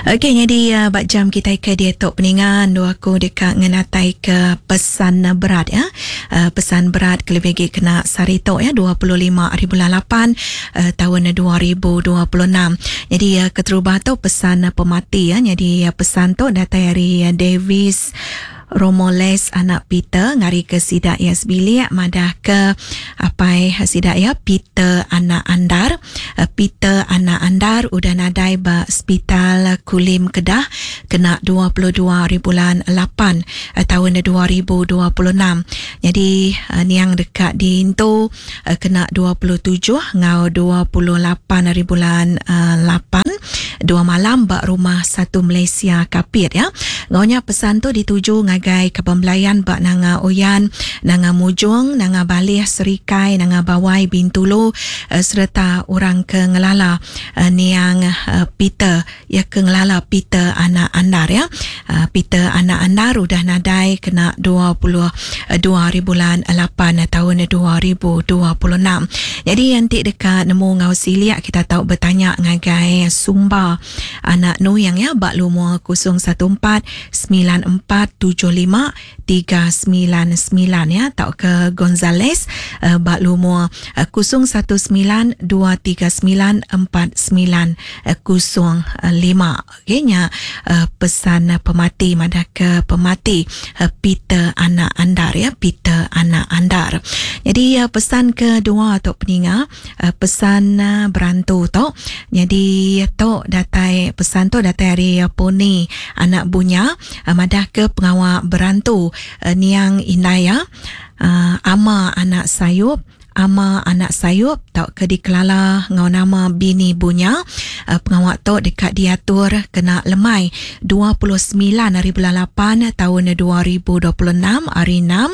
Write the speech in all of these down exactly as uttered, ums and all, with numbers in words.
Okey, jadi uh, bak jam kita ke dia tok peningan dua aku dekat ngenatai ke pesan berat ya. Uh, pesan berat kelebih lagi kena sari tok ya dua puluh lima hari bulan lapan uh, tahun dua ribu dua puluh enam. Jadi uh, keterubah tu pesan uh, pemati ya. Jadi uh, pesan tu datang dari uh, Davis Romoles anak Peter ngari ke sidak ya sebilik madah ke apai sidak ya Peter anak Andar. Peter anak Andar udah nadai ba Hospital Kulim Kedah kena dua puluh dua hari bulan lapan tahun dua ribu dua puluh enam. Jadi niang dekat di itu kena dua puluh tujuh ngau dua puluh lapan hari bulan lapan dua malam ba rumah satu Malaysia Kapit ya. Ngaunya pesan tu dituju ngagai kepembelayan bak Nanga Oyan, Nanga Mujung, Nanga Balih Serikai, Nanga Bawai Bintulu uh, serta orang ke ngelala uh, niang uh, Peter ya ke ngelala Peter anak Andar ya. Uh, Peter anak Andar udah nadai kena dua puluh dua hari bulan lapan tahun dua ribu dua puluh enam. Jadi nanti dekat nemu ngau siliak kita tahu bertanya ngagai Sumba anak Nuyang ya bak lumur kosong satu empat sembilan empat tujuh lima tiga sembilan sembilan ya atau ke Gonzales uh, bak lumur uh, kosong satu sembilan dua tiga sembilan empat sembilan kosong lima. Okey nya uh, pesan uh, pemati madah ke pemati uh, Peter anak Andar ya, Peter anak Andar. Jadi uh, pesan kedua atau peninga uh, pesan uh, berantu tu. Jadi tu datai pesan tu datai hari uh, Poni anak Bunya uh, madah ke pengawal berantu uh, niang Indaya uh, Ama anak Sayup, Ama anak Sayup tak ke dikelala ngau nama bini Bunya. Uh, pengawal tu dekat diatur kena lemai dua puluh sembilan hari bulan lapan tahun dua ribu dua puluh enam hari enam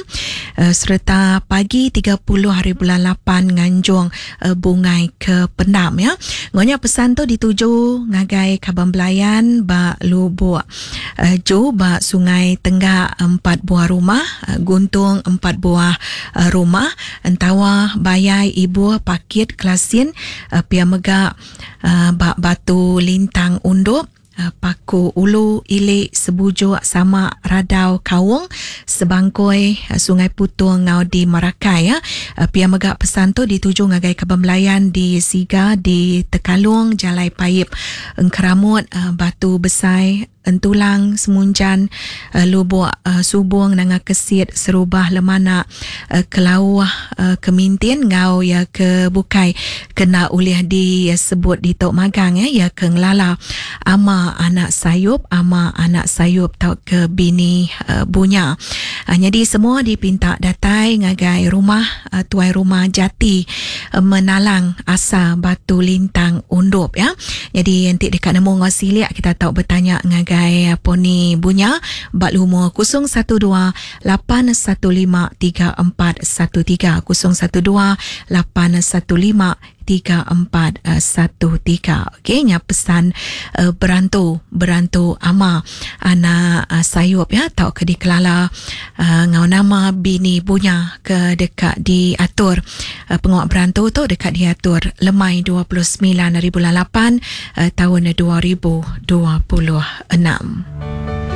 uh, serta pagi tiga puluh hari bulan lapan nganjung uh, bungai ke pendam ya. Ngonya pesan tu dituju ngagai Kabang Belayan ba Lubuk uh, Jo ba Sungai Tenggak empat buah rumah, uh, Guntung empat buah uh, rumah, Entawa Bayai Ibu Pakit Kelasin uh, Pia Mega uh, bak Batu Lintang Undup, uh, Paku Ulu Ilik Sebujuk sama Radau Kaung Sebangkoi uh, Sungai Putung ngau di Marakai ya. Uh, Pia Mega pesan tu dituju ngagai Kabang Belayan di Siga di Tekalung Jalai Paip Engkeramut uh, Batu Besai Entulang Semunjan uh, Lubuk uh, Subung Nanga Kesit Serubah Lemanak uh, Kelauh uh, Kemintin ngau ya ke Bukai kena ulih disebut di Tok Magang ya, ya ke ngelala Ama anak Sayup, Ama anak Sayup tau ke bini uh, Bunya. Uh, jadi semua dipinta datai ngagai rumah uh, tuai rumah Jati uh, Menalang Asa Batu Lintang Undup ya. Jadi nanti dekat nemu ngau siliak kita tahu bertanya ngagai Gai Poni Bunya bak lumur kosong satu dua lapan satu lima tiga empat satu tiga kosong satu dua lapan satu lima tiga empat satu tiga. Okey, nya pesan uh, berantu berantu Ama anak uh, Sayup ya tau ke dikelala uh, ngau nama bini Bunya ke dekat diatur uh, penguat berantu tu dekat diatur lemai dua puluh sembilan hari bulan lapan uh, tahun dua ribu dua puluh enam.